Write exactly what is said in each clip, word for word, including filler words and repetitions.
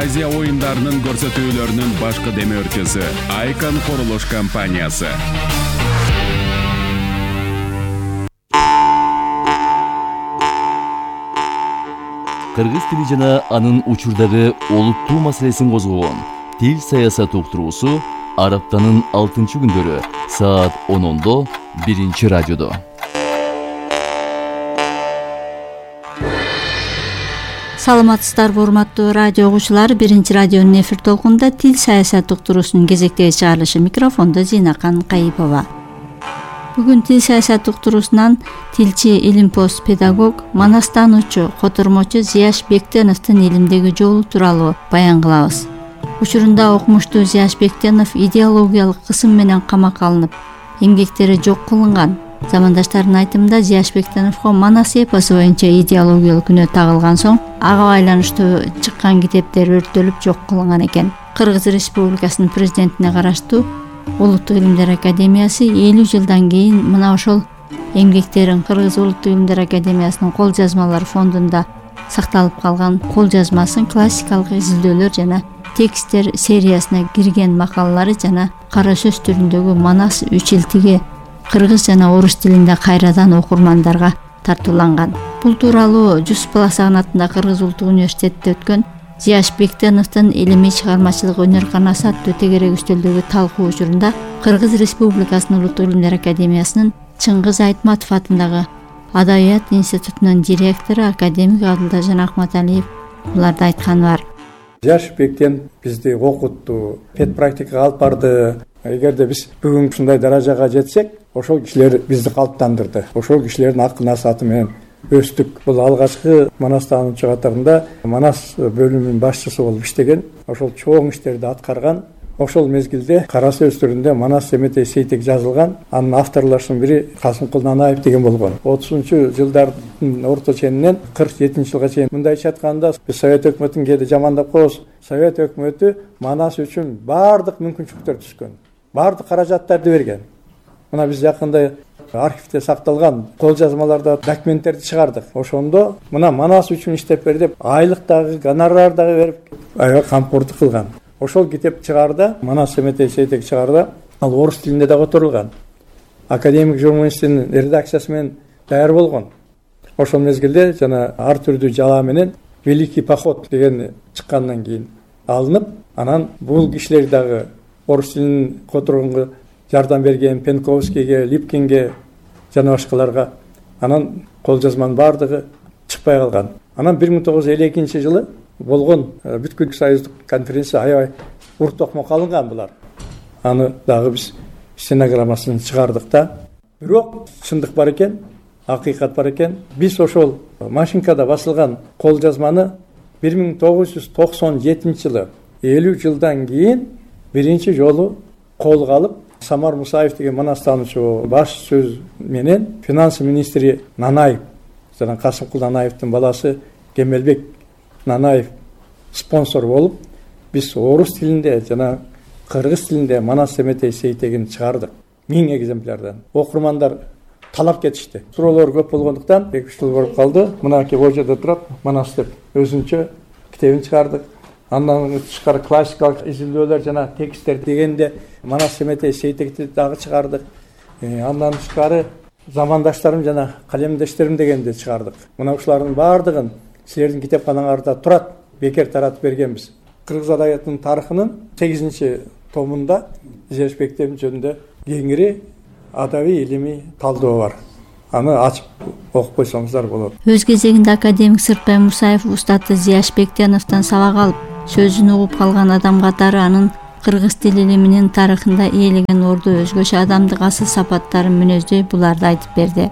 Азия оюндарынын көрсөтүүлөрүнүн башкы демөөрчүсү Айкон курулуш компаниясы. Кыргыз тили жана анын учурдагы олуттуу маселесин козгогон Тил саясат уктуруусу ар аптанын алтынчы күндөрү саат онондо биринчи радиодо. Саламатсыздарбы урматтуу радио угуучулар, биринчи радионун эфир толкунунда Тил саясат уктуруусунун кезектеги чыгарылышы. Микрофондо Зинакан Кайыпова. Бүгүн Тил саясат уктуруусунан тилчи, илимпоз, педагог, манастануучу, котормочу Зияш Бектеновдун илимдеги жолу тууралуу баян кылабыз. Учурунда окумуштуу Зияш Бектенов идеологиялык кысым менен камакка алынып, эмгектери жок кылынган. Замандаштардын айтымында Зияш Бектеновго Манас эпосу боюнча идеологиялык күнөө тагылган соң ага байланыштуу чыккан китептер өрттөлүп жок кылынган экен. Кыргыз Республикасынын президентине караштуу Улуттук илимдер академиясы элүү жылдан кийин мына ошол эмгектерин Кыргыз Улуттук илимдер академиясынын кол жазмалар фондунда сакталып калган кол жазмасын классикалык изилдөөлөр жана тексттер сериясына кирген макалалары жана кара сөз түрүндөгү Манас үч илтиги кыргыз жана орус тилинде кайрадан окурмандарга тартууланган. Бул тууралуу Жусуп Баласагын атындагы Кыргыз Улуттук университетте өткөн Зияш Бектеновдун илимий чыгармачылык өнөр-канасы аттуу тегерек үстөлдөгү талкуу учурунда Кыргыз Республикасынын Улуттук илимдер академиясынын Чыңгыз Айтматов атындагы Адабият институтунун директору академик Абдылдажан Акматалиев буларда айтканы бар. Зияш Бектенов бизди окутту, пед практикага алып барды. Эгерде биз бүгүн ушундай даражага жетсек, ошол кишилер бизди калыптандырды. Ошол кишилердин акыл насааты менен өстүк. Бул алгачкы манастануучу катарында Манас бөлүмүнүн башчысы болуп иштеген, ошол чоң иштерди аткарган. Ошол мезгилде кара сөз түрүндө Манас Семетей Сейтек жазылган. Анын авторлорунун бири Касымкул Нанаев деген болгон. отузунчу жылдардын орто ченинен кырк жетинчи жылга чейин мындайча айтканда биз Совет өкмөтүн кээде жамандап коебуз. Совет өкмөтү Манас үчүн баардык мүмкүнчүлүктөрдү түзгөн. Баардык каражаттарды берген. Мына биз жакында архивде сакталган кол жазмаларда документтерди чыгардык. Ошондо мына Манас үчүн иштеп бер деп айлык дагы, гонорар дагы берип аябай камкордук кылган. Ошол китеп чыгарда, Манас Семетей Сейтек чыгарда, ал орус тилинде да которулган. Академик журналисттин редакциясы менен даяр болгон. Ошол мезгилде жана ар түрдүү жала менен Великий поход деген чыккандан кийин алынып, анан бул кишилер дагы орус тилин которгонго жардам берген Пенковскийге, Липкинге жана башкаларга. Анан кол жазманын баардыгы чыкпай калган. Анан бир миң тогуз жүз элүү экинчи жылы болгон бүткүл союздук конференция аябай уртокмок алынган булар. Аны дагы биз стенограммасын чыгардык да. Бирок чындык бар экен, акыйкат бар экен. Биз ошол машинкада басылган кол жазманы бир миң тогуз жүз токсон жетинчи жылы элүү жылдан кийин биринчи жолу колго алып Самар Мусаев деген манастануучу баш сөз менен финанс министри Нанаев жана Касымкул Нанаевдин баласы Кемелбек Нанаев спонсор болуп, биз орус тилинде жана кыргыз тилинде Манас Семетей Сейтегин чыгардык. Миң экземплярдан. Окурмандар талап кетишти. Суроолор көп болгондуктан эки үч жыл болуп калды. Мынакей божоодо турат Манас деп өзүнчө китебин чыгардык. Андан тышкары классикалык изилдөөлөр жана тексттер дегенде Манас Семетей Сейтекти дагы чыгардык. Андан тышкары замандаштарым жана калемдештерим дегенде чыгардык. Мына ушулардын баардыгын силердин китепканаларда турат, бекер таратып бергенбиз. Кыргыз адабиятынын тарыхынын сегизинчи томунда Зияш Бектенов жөнүндө кеңири адабий илимий талдоо бар. Аны ачып окуп койсоңуздар болот. Өз кезегинде академик Сыртбай Мусаев устаты Зияш Бектеновдон сабак алып, сөзүн угуп калган адам катары анын кыргыз тил илиминин тарыхында ээлеген орду өзгөчө адамдык асыл сапаттарын мүнөздөй буларды айтып берди.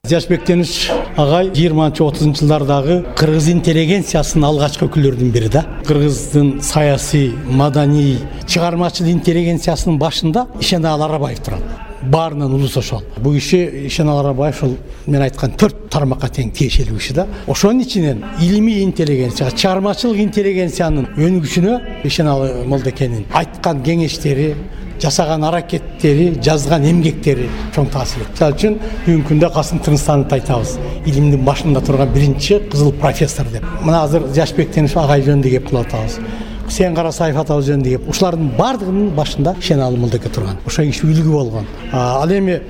Зияш Бектенов агай жыйырманчы отузунчу жылдардагы кыргыз интеллигенциясынын алгачкы өкүлдөрүнүн бири да. Кыргыздын саясий, маданий, чыгармачыл интеллигенциясынын башында Ишенал Арабаев турат. Баарынан улус ошол. Бул киши Ишенал Арабаев ошол мен айткан төрт тармакка тең тиешелүү киши да. Ошонун ичинен илимий интеллигенция, чыгармачылык интеллигенциянын өнүгүшүнө Ишенал Молдекенин айткан кеңештери, жасаган аракеттери, жазган эмгектери чоң таасир этти. Мисалы үчүн бүгүнкү күндө Касым Тырныстановду айтабыз. Илимдин башында турган биринчи кызыл профессор деп. Мына азыр Жашбек Тенишев агай жөнүндө кеп кылып атабыз. Хусейин Карасаев атабыз жөнүндө кеп. Ушулардын бардыгынын башында Шеналы Мулдеке турган. Ошо киши үлгү болгон. Ал эми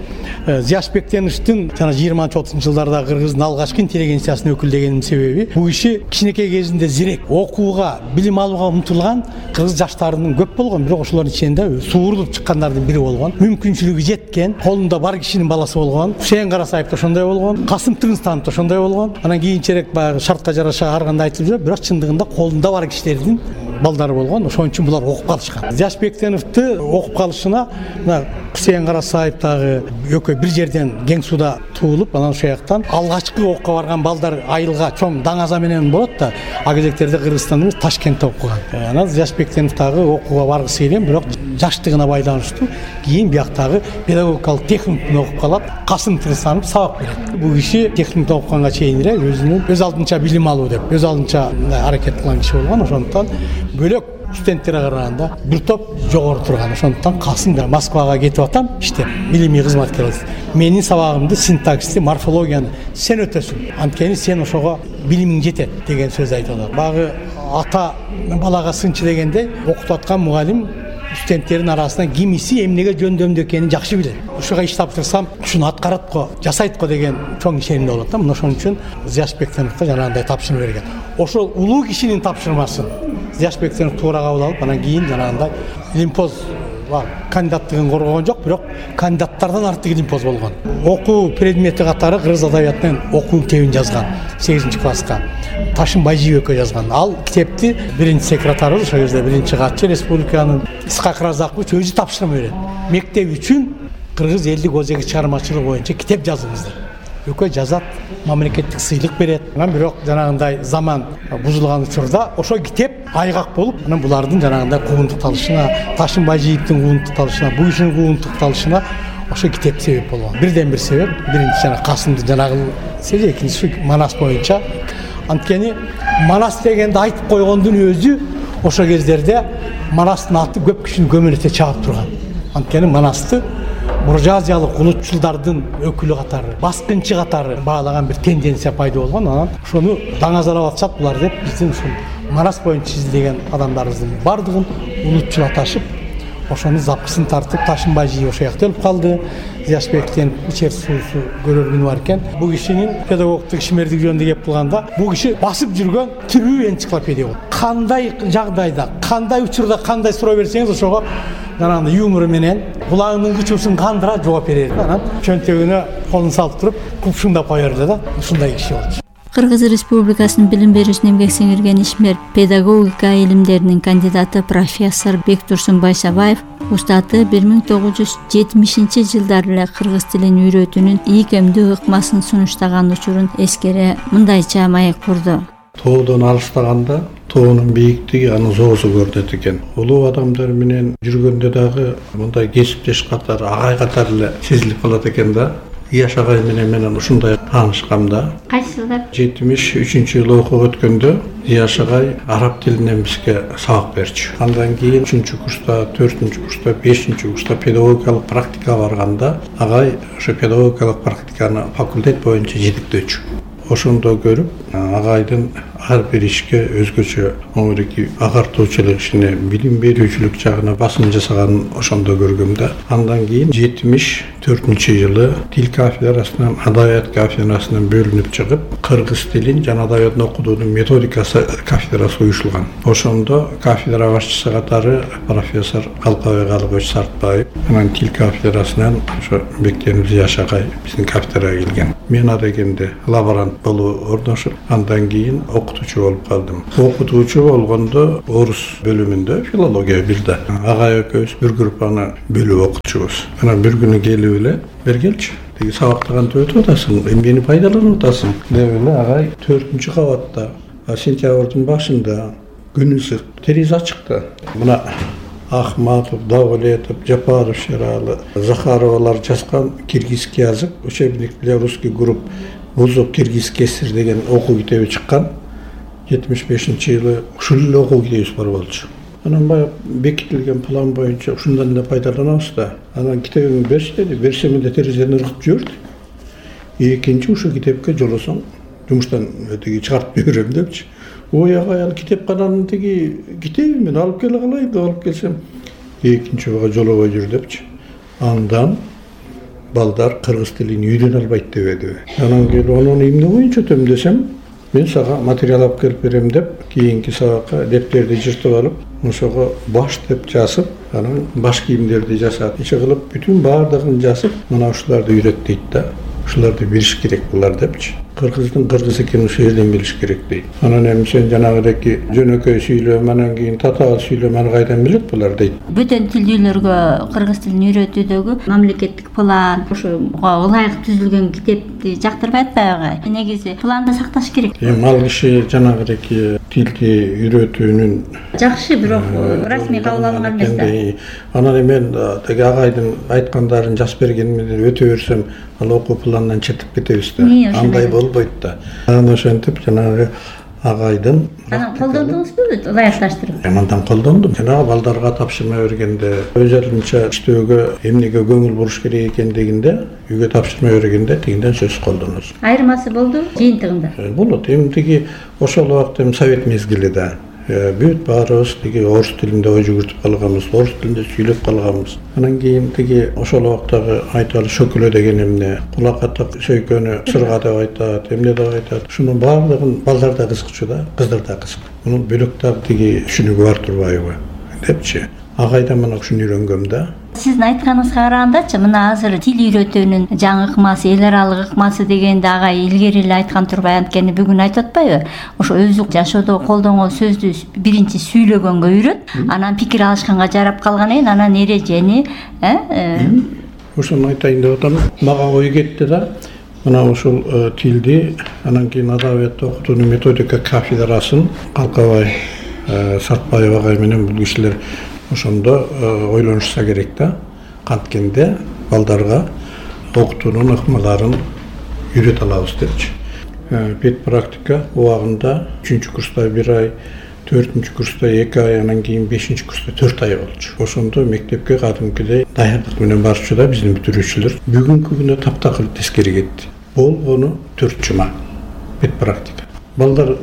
Жашбек Тенишевдин жана жыйырманчы отузунчу жылдарда Кыргыздын алгачкы интеллигенциясына өкүлдөгөнүн себеби бул киши кичинекей кезинде зирек окууга, билим алууга умтулган кыргыз жаштарынын көп болгон, бирок ошолордун ичинде suurулуп чыккандардын бири болгон. Мүмкүнчүлүгү жеткен, колунда бар кишинин баласы болгон. Хусейин Карасаев да ошондой болгон, Касым Тырныстанов да ошондой болгон. Анан кийинчерээк баягы шартка жараша ар кандай айтылып жүрөт, бирок чындыгында колунда бар кишилердин балдары болгон. Ошон үчүн булар окуп калышкан. Жашбек Тенишевди окуп калышына мына Хусейин Карасаев дагы экөө бир жерден Кең сууда туулуп, анан ошол жактан алгачкы окууга барган балдар айылга чоң даңаза менен болот да, а кезектерде Кыргызстанда эмес Ташкентте окуган. Анан Жашбек Тенишев дагы окууга баргысы келген, бирок жаштыгына байланыштуу кийин бияктагы педагогикалык техникумда окуп калат. Касым Тырныстанов сабак берет. Бул киши техникумда окуганга чейин эле өзүнүн өз алдынча билим алуу деп, өз алдынча аракет кылган киши болгон. Ошондуктан бөлөк студенттерге караганда бир топ жогору турган. Ошондуктан Касым да Москвага кетип атам иштеп, илимий кызматкер болсун. Менин сабагымды, синтаксисти, морфологияны сен өтөсүң. Анткени сен ошого билимиң жетет деген сөз айтып атат. Багы ата балага сынчы дегендей окутуп аткан мугалим студенттердин арасынан кимиси эмнеге жөндөмдүү экенин жакшы билет. Ушуга иш тапшырсам, ушуну аткарат го, жасайт го деген чоң ишенимде болот да. Мына ошон үчүн Жашбек Тенишевге жанагындай тапшырма берген. Ошол улуу кишинин тапшырмасын Жашбек Тенишев туура кабыл алып, анан кийин жанагындай илимпоз кандидаттыгын коргогон жок, бирок кандидаттардан артык илимпоз болгон. Окуу предмети катары кыргыз адабиятынын окуу китебин жазган сегизинчи класска. Ташын Байжиев экөө жазган. Ал китепти биринчи секретарыбыз, ошол кезде биринчи катчы республиканын Исхак Разакович өзү тапшырма берет. Мектеп үчүн кыргыз элдик өзеги чыгармачылыгы боюнча китеп жазыңыздар. Экөө жазат, мамлекеттик сыйлык берет. Анан бирок жанагындай заман бузулган учурда ошо китеп айгак болуп, анан булардын жанагындай куугунтукталышына, Ташын Байжиевдин куугунтукталышына, бул кишинин куугунтукталышына ошо китеп себеп болгон. Бирден бир себеп, биринчи жана Касымдын жанагы себеби, экинчиси Манас боюнча. Анткени Манас дегенди айтып койгондун өзү ошо кездерде Манастын аты көп кишини көмөлөтө чаап турган. Анткени Манасты буржуазиялык улутчулдардын өкүлү катары, баскынчы катары баалаган бир тенденция пайда болгон. Анан ошону даңазалап атышат булар деп биздин ушул Манас боюнча изилдеген адамдарыбыздын бардыгын улутчулаташып, ошону запкысын тартып, Ташын Байжиев ошол жакта өлүп калды. Жашбектен ичер суусу көрөр күнү бар экен. Бул кишинин педагогтук ишмердиги жөнүндө кеп кылганда, бул киши басып жүргөн тирүү энциклопедия болду. Кандай жагдайда, кандай учурда кандай суроо берсеңиз ошого жанагындай юмору менен кулагынын кычуусун кандыра жооп берет. Анан чөнтөгүнө колун салып туруп, купшуңдап кое берди да. Ушундай киши болчу. Кыргыз Республикасынын билим берүүсүнө эмгек сиңирген ишмер, педагогика илимдеринин кандидаты профессор Бектурсун Байсабаев устаты бир миң тогуз жүз жетимишинчи жылдары эле кыргыз тилин үйрөтүүнүн ийкемдүү ыкмасын сунуштаган учурун эскере мындайча маек курду. Тоодон алыстаганда тоонун бийиктиги анын зоосу көрүнөт экен. Улуу адамдар менен жүргөндө дагы мындай кесиптеш катары, агай катары эле сезилип калат экен да. Ияш агай менен менен ушундай таанышкам да. Кайсы жылдар? жетимиш үчүнчү жылы окууга өткөндө Ияш агай араб тилинен бизге сабак берчү. Андан кийин үчүнчү курста, төртүнчү курста, бешинчи курста педагогикалык практикага барганда агай ошо педагогикалык практиканы факультет боюнча жетектөөчү. Ошондо көрүп, агайдын ар бир ишке өзгөчө оңойки агартуучулук ишине, билим берүүчүлүк жагына басым жасаганын ошондо көргөм да. Андан кийин жетимиш төртүнчү жылы тил кафедрасынан адабият кафедрасынан бөлүнүп чыгып, кыргыз тилин жана адабиятын окутуунун методикасы кафедрасы уюшулган. Ошондо кафедра башчысы катары профессор Калкабек Алыбович Сартбаев, анан тил кафедрасынан ошо Бектенов Ияш агай биздин кафедрага келген. Мен адегенде лаборант болуп орношуп, андан кийин окутуучу болуп калдым. Окутуучу болгондо орус бөлүмүндө филология бирде. Агай экөөбүз бир группаны бөлүп окутчубуз. Анан бир күнү келип эле бергелчи, деги сабактаган өтүп атасың, эмнени пайдаланып атасың деп эле агай төртүнчү кабатта сентябрдын башында күн ысык, терезе ачыкты. Мына Ахматов, Давлетов, Жапаров, Шералы, Захаровалар жазган киргизский язык, учебник для русских групп Вузов киргизский эсер деген окуу китеби чыккан. жетимиш бешинчи жылы ушул эле окуу китебибиз бар болчу. Анан баягы бекитилген план боюнча ушундан эле пайдаланабыз да. Анан китебиңди берчи деди. Берсем эле терезеден ыргытып жиберди. Экинчи ушул китепке жолосоң жумуштан тиги чыгарып берем депчи. Ой агай, ал китепкананын тиги китеби мен алып келе калайын деп алып келсем, экинчи ойга жолобой жүр депчи. Андан балдар кыргыз тилин үйрөнө албайт дебеди. Анан келип анын эмне боюнча өтөм десем, мен сага материал алып келип берем деп, кийинки сабакка дептерди жыртып алып, ошого баш деп жазып, анан баш кийимдерди жасап, ичи кылып бүтүн баардыгын жазып, мына ушуларды үйрөт дейт да. Ушуларды билиш керек булар депчи. Кыргыздын кыргыз экенин ошол жерден билиш керек дейт. Анан эми сен жанагыдеки жөнөкөй сүйлөм, анан кийин татаал сүйлөм, аны кайдан билет булар дейт. Бөтөн тилдүүлөргө кыргыз тилин үйрөтүүдөгү мамлекеттик план, ошого ылайык түзүлгөн китепти жактырбай атпайбы? Негизи планды сакташ керек. Эми ал киши жанагыдеки тилди үйрөтүүнүн жакшы, бирок расмий кабыл алынган эмес да. Анан мен теги агайдын айткандарын жазып бергени менен өтө берсем, ал окуу планынан четип кетебиз да. Андай болбойт да. Анан ошентип жанагы агайдын анан колдондуңузбу ылайыкташтырып? Андан колдондум. Жанагы балдарга тапшырма бергенде, өз алдынча иштөөгө эмнеге көңүл буруш керек экендигинде, үйгө тапшырма бергенде тигинден сөз колдоносуң. Айырмасы болду жыйынтыгында? Болот. Эми тиги ошол убакта эми совет мезгили да. Бүт баарыбыз тиги орус тилинде ой жүгүртүп калганбыз, орус тилинде сүйлөп калганбыз. Анан кийин тиги ошол убактагы айталы шөкөлө деген эмне, кулакатак сөйкөнү сырга деп айтат, эмне деп айтат. Ушунун баардыгын балдар да кызыкчу да, кыздар да кызык. Мунун бөлөктөр тиги түшүнүгү бар турбайбы депчи. Агайдан мына ушуну үйрөнгөм да. Сиздин айтканыңызга карагандачы, мына азыр тил үйрөтүүнүн жаңы ыкмасы, эл аралык ыкмасы дегенде агай илгери эле айткан турбай, анткени бүгүн айтып атпайбы? Ошо өзү жашоодо колдонгон сөздү биринчи сүйлөгөнгө үйрөт, анан пикир алышканга жарап калгандан кийин анан эрежени, э? Ошону айтайын деп атам. Мага ой кетти да. Мына ушул тилди анан кийин адабиятты окутуунун методика кафедрасын Калкабай Сартбаев агай менен бул кишилер ошондо ойлонушса керек да. Канткенде балдарга окутуунун ыкмаларын үйрөтө алабыз депчи. Пет практика убагында үчүнчү курста бир ай, төртүнчү курста эки ай, анан кийин бешинчи курста төрт ай болчу. Ошондо мектепке кадимкидей даярдык менен барчу да биздин бүтүрүүчүлөр. Бүгүнкү күнү таптакыр тескери кетти. Болгону төрт жума пет практика. Балдар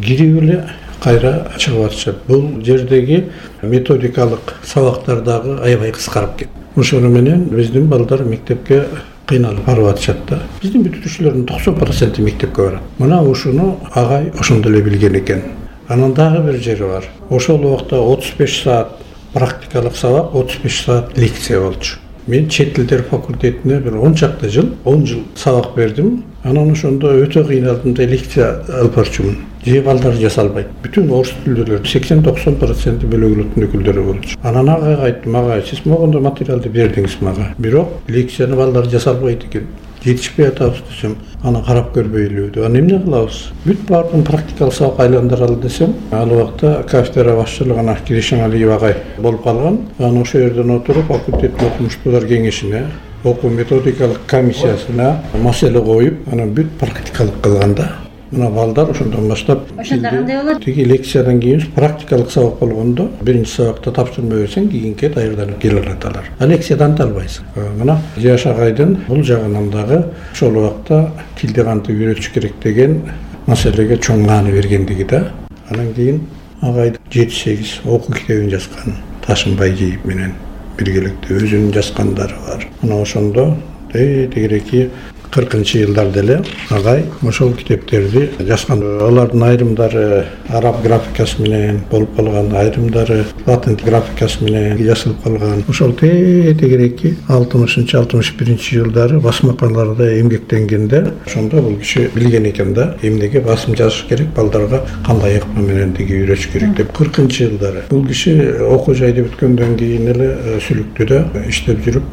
кирип эле кайра чыгып атышат. Бул жердеги методикалык сабактар дагы аябай кыскарып кетти. Ошону менен биздин балдар мектепке кыйналып барып атышат да. Биздин бүтүрүүчүлөрдүн токсон проценти мектепке барат. Мына ушуну агай ошондо эле билген экен. Анан дагы бир жери бар. Ошол убакта отуз беш саат практикалык сабак, отуз беш саат лекция болчу. Мен чет тилдер факультетине бир он чакты жыл, он жыл сабак бердим. Анан ошондо өтө кыйналдым да лекция алып барчумун. Же балдар жаза албайт. Бүтүн орус тилдүүлөр сексен токсон проценти бөлөглөтүн өкүлдөрү болчу. Анан агайга айттым, агай, сиз могондо материалды бердиңиз мага. Бирок лекцияны балдар жаза албайт экен. Жетишпей атабыз десем, аны карап көрбөйлү деп. Аны эмне кылабыз? Бүт баардыгын практикалык сабакка айландыралы десем, ал убакта кафедра башчылыгына Киришан Алиев агай болуп калган. Анан ошол жерден отуруп факультеттин окумуштуулар кеңешине, окуу методикалык комиссиясына маселе коюп, анан бүт практикалык кылган да. Мына балдар ошондон баштап ошондо кандай болот? Тиги лекциядан кийин практикалык сабак болгондо биринчи сабакта тапшырма берсең, кийинки даярданып келе алаталар. А лекциядан да албайсың. Мына Жаш агайдын бул жагынан дагы ошол убакта тилди кантип үйрөтүш керек деген маселеге чоң маани бергендиги да. Анан кийин агай жети сегиз окуу китебин жазган. Ташынбай Жейип менен биргеликте өзүнүн жазгандары бар. Мына ошондо тегереки кыркынчы жылдарда эле агай ошол китептерди жазган. Алардын айрымдары араб графикасы менен болуп калган, айрымдары латин графикасы менен жазылып калган. Ошол тегереки алтымышынчы алтымыш биринчи жылдары басмакаларда эмгектенгенде ошондо бул киши билген экен да, эмнеге басым жазыш керек, балдарга кандай ыкма менен тиги үйрөтүш керек деп. кыркынчы жылдары бул киши окуу жайды бүткөндөн кийин эле Сүлүктүдө иштеп жүрүп